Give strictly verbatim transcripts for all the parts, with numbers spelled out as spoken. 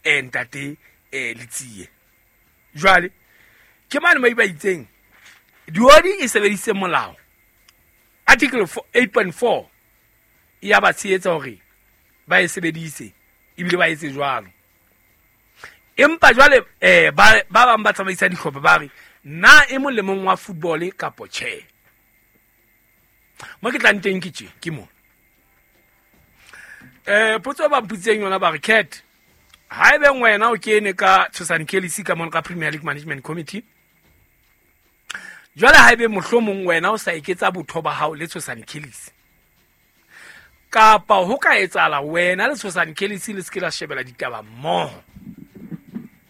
eh ntate eh Letsie. Jwale ke mane mo ba itseng diodi e sebedise molao article eight point four ya ba tshehetsa hore ba e sebedise ebile ba etse jwalo. Empa jwale eh ba ba bang ba tsamaisa dihlopha ba re na e molemong wa football kapo tjhe. Mo ke tlang teng ke tje ke mo. Eh potso ba mputseng yona ba re Cat ha ebe wena o kene ka Tshosane Kelly ka mona ka Premier League Management Committee. Jwale ha ebe mohlomong wena o sa eketsa botho ba hao le Tshosane Kelly. Kapa ho ka etsahala wena le Tshosane Kelly le se ke la shebela ditaba mmoho.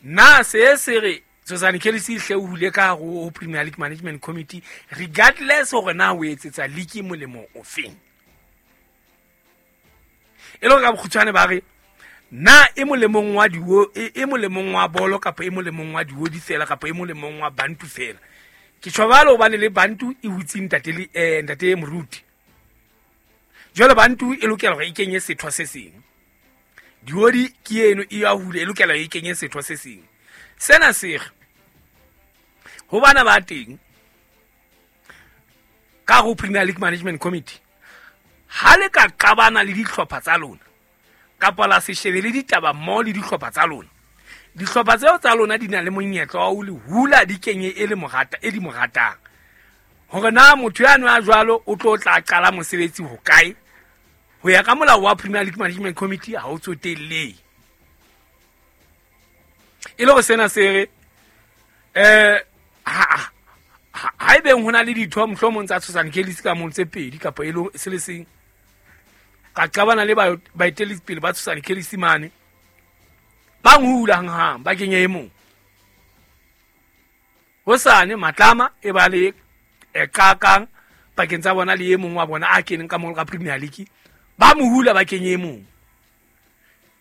Na se se re Tshosane Kelly hle o hule ka ho Premier League Management Committee regardless hore na o etsetsa league molemo ofeng. E le ka bokgutshwane ba re na e molemong wa diwo e molemong wa bolo kapa e molemong wa diwo di fela kapa e molemong wa bantu fela. Ke tjhobalo hobane le bantu e hutse ntate le eh ntate Moruti. Jwale bantu e lokela hore e kenye setho se seng. Diodi ke eno e ya hule e lokela e kenye setho se seng. Sena se re ho bana ba teng ka ho Premier League Management Committee ha le ka qabana le dihlopha tsa lona kapa la se shebe le ditaba mmoho le dihlopha tsa lona, dihlopha tseo tsa lona di na le monyetla wa ho le hula di kenye e le morata e di mo ratang. Hore na motho ya nwa jwalo o tlo tla qala mosebetsi ho kae ho ya ka molao wa Premier League Management Committee ha o tsotelle. E le hore sena se re eh ha ha ebe hona le ditho mohlomong tsa Tshosane Kelly ka mong tse pedi kapa e le se le seng ka qabana le baetelli pele ba Tshosane Kelly mane ba nhula hang ba kenye e mong. Hosane matlama e ba le e qakang pakeng tsa bona le e mong wa bona a keneng ka mong ka Premier League ba mohula ba kenye e mong.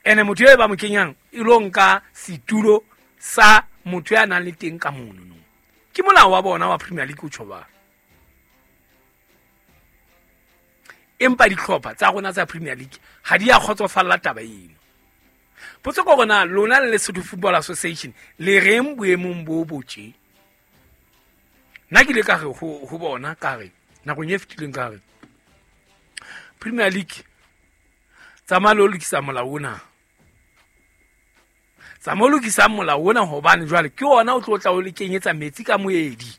Ene motho e ba mo kenyang e lo nka setulo sa motho ya nang le teng ka mono no. Ke molao wa bona wa Premier League o tjhoba. Empa dihlopha tsa rona tsa Premier League ha di a kgotsofalla taba eno. Potso ke hore na lona le Lesotho Football Association le reng boemong bo botje. Nna ke ile ka re ho ho bona ka re nakong e fetileng ka re Premier League tsamaya le ho lokisa molao ona. Tsamaya o lokisa molao ona hobane jwale ke ona o tlo tla o le kenyetsa metsi ka moedi.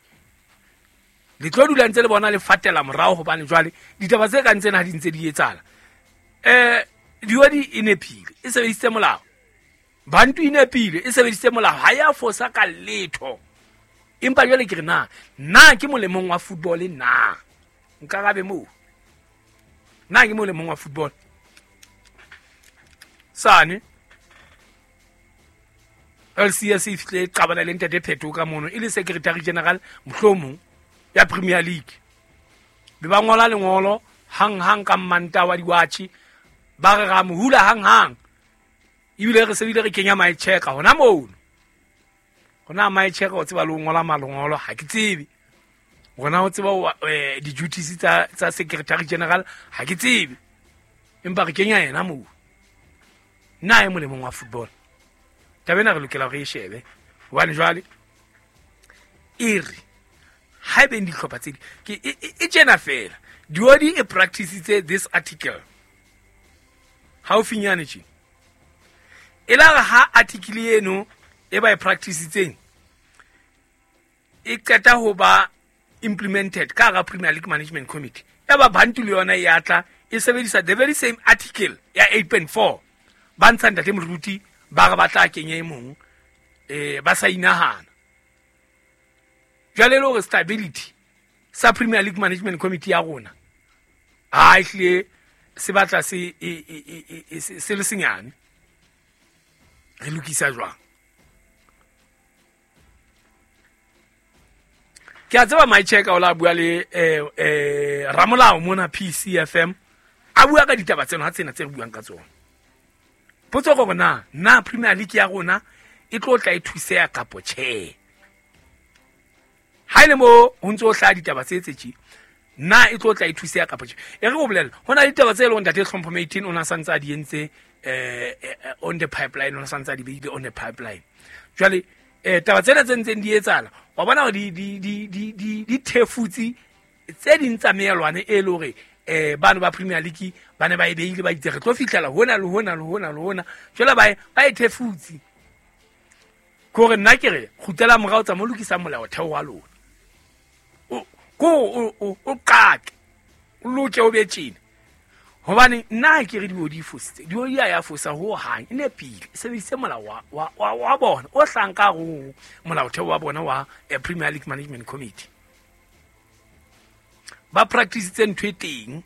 Le tlo dula ntse le bona le fatela morao hobane jwale ditaba tse kang tsena ha di ntse di etsahala. Eh diodi e nepile e sebedisitse molao. Bantu e nepile e sebedisitse molao ha ya fosa ka letho. Empa jwale ke re na na ke molemong wa football na nkarabe moo. Na ke molemong wa football. Sane L C S e fihle qabana le ntate Pheto ka mono e le secretary general mohlomong ya Premier League. Be ba ngola lengolo hang hang ka mmanta wa diwatjhe ba re ra mohula hang hang. Ebile re sebile re kenya my check hona mono. Hona my check o tseba le ngola malongolo ha ke tsebe. Hona o tseba di duties tsa tsa secretary general ha ke tsebe. Empa re kenya yena moo. Na e molemong wa football. Taba ena re lokela re e shebe. Hobane jwale e re ha ebe dihlopha tse di ke e tjena fela. Diodi e practice this article. Haufinyane tje. E la re ha article eno e ba e practice-itseng e qeta ho ba implemented ka hara Premier League Management Committee. Ya ba bantu le yona e atla e sebedisa the very same article ya eight point four. Ba ntsha ntate Moruti ba re ba tla kenya e mong eh ba sa inahana. Jwale le hore stability sa Premier League Management Committee ya rona ha e hle se batla se se le senyane. Re lokisa jwang? Ke a tseba my check o la bua le eh eh Ramolao mona P C F M a bua ka ditaba tseno ha tsena tse re buang ka tsona. Potso ke hore na na Premier League ya rona e tlo tla e thuseha kapo tjhe. Ha ile mo ho ntso hlaha ditaba tse tse tje na e tlo tla e thuseha kapo tjhe. E re o bolella hona ditaba tse leng ntate Hlompho eighteen o na santse a di entse eh on the pipeline, o santsa di beile on the pipeline. Jwale eh taba tsena tse ntseng di etsahala, wa bona hore di di di di di di thefutsi tse ding tsa meelwane e le hore eh bano ba Premier League ba ne ba e beile ba itse re tlo fihlela hona le hona le hona le hona. Jwale ba ba e thefutsi. Kore nna ke re kgutlela morao tsa mo lokisa molaotheo wa lona. O ko o o qake. O loke o be tjena. Hobane nna ke re di di fositse. Di di ya fosa ho hang e nepile. E sebedise molao wa wa wa bona o hlanka ho molaotheo wa bona wa Premier League Management Committee. Ba practice tse ntho e teng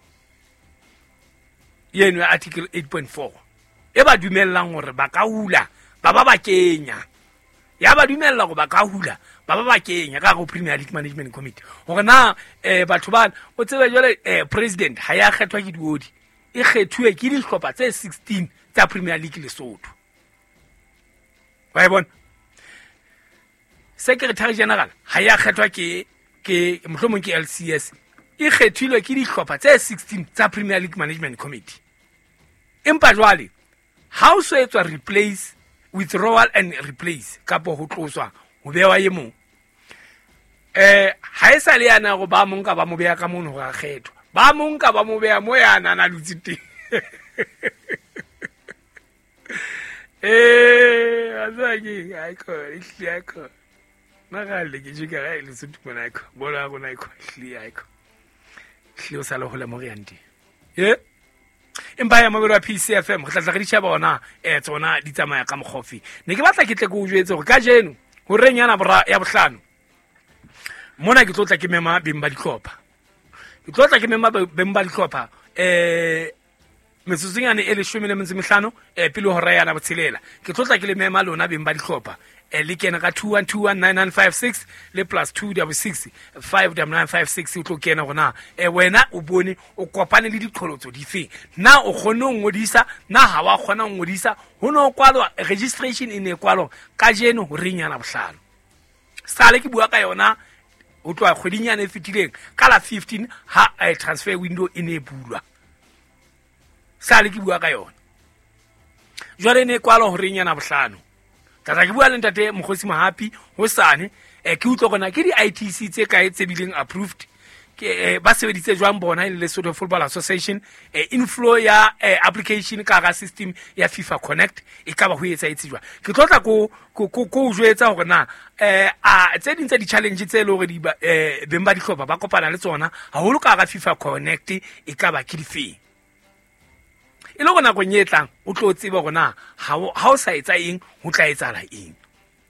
yeno ya article eight point four e ba dumellang hore ba ka hula ba ba ba kenya. Ya ba dumella hore ba ka hula ba ba ba kenya ka go Premier League Management Committee. Hore na eh batho ba o tsebe jwale eh president ha ya kgethwa ke diodi, e kgethuwe ke dihlopha tse sixteen tsa Premier League Lesotho. Wa e bona? Secretary General ha ya kgethwa ke ke mohlomong ke L C S, e kgethilwe ke dihlopha tse sixteen tsa Premier League Management Committee. Empa jwale ha o so etswa replace, withdrawal and replace kapo ho tloswa ho bewa e mong, eh ha e sa le yana go ba mong ka ba mo beya ka mono ga kgethwa, ba mong ka ba mo beya mo yana na lutse teng. Eh a ke ai ko ihle ai ko magale ke jika ga le Lesotho mona ai ko bona rona ai ko ihle ai ko ihle o sa le hole mo re yang teng. Ye empa ya mabelo a P C F M re tla tla re di sheba ona eh tsona di tsamaya ka mokgofi. Ne ke batla ke tle ke o jwetse hore kajeno horeng yana bora ya bohlano mona ke tlo tla ke mema beng ba dihlopha. Ke tlo tla ke mema beng ba dihlopha eh metsotsonyane e leshome le metso e mehlano eh pele hora yana botshelela. Ke tlo tla ke le mema lona beng ba dihlopha eh le kena ka two one two one nine nine five six le plus two double six five double nine five six o tlo kena hona eh wena o bone o kopane le diqholotso dife, na o kgone ho ngodisa, na ha wa kgona ho ngodisa, ho no kwalwa registration e ne kwalwa kajeno horeng yana bohlano. Sale ke bua ka yona ho tloha kgweding yana e fetileng ka la fifteen ha eh, transfer window e ne bulwa. Sale ke bua ka yona jwale ne kwalwa horeng yana bohlano. Tata ke bua le ntate Mokgosi Mohapi hosane eh ke utlwa gona ke di I T C tse kae tse bileng approved ke eh, ba sebeditse jwang bona e le Lesotho Football Association eh, inflow ya eh, application ka ga system ya FIFA Connect e ka ba ho etsa etse jwang. Ke tlo tla ko ko ko jwetsa hore na eh a tse ding tsa di challenge tse le hore di eh beng ba dihlopha ba kopana le tsona haholo ka ga FIFA Connect e ka ba ke difeng. E le hore nakong e tlang o tlo tseba hore na ha o sa etsa eng ho tla etsahala eng.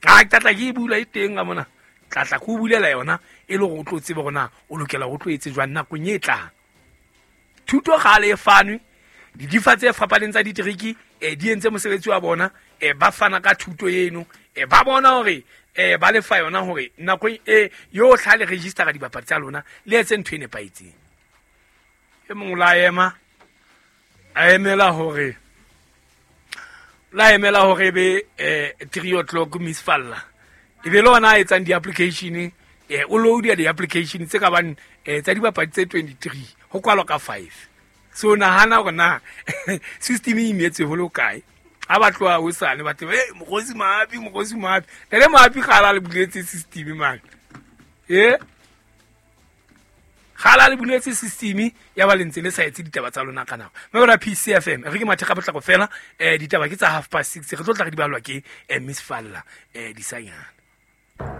Ha ke tla ke e bula e teng ka mona, tla tla ke o bulela yona e le hore o tlo tseba hore na o lokela ho tlo etse jwang nakong e tlang. Thuto kgale e fanwe, didifa tse fapaneng tsa diteriki eh di entse mosebetsi wa bona, eh ba fana ka thuto eno, eh ba bona hore eh ba lefa yona hore nakong e yohle ha le register dibapadi tsa lona le etse ntho e nepahetseng. E mong la ema a emela hore la emela hore be eh three o'clock Miss Falla e be lona a etsang di-application eh o load di-application tse ka bang eh tsa dibapadi tse twenty-three ho kwalwa ka five. So nahana hore na system e imetse ho lo kae. Ha ba tloha hosane ba tle eh Mokgosi Mohapi Mokgosi Mohapi le Mohapi kgala le buletse system man eh kgala le buletse system ya ba lentse le sa etse ditaba tsa lona ka nako. Mme ra P C F M re ke matheka potlako fela eh ditaba ke tsa half past six re tlo tla re di balwa ke eh Miss Falla eh disanyana.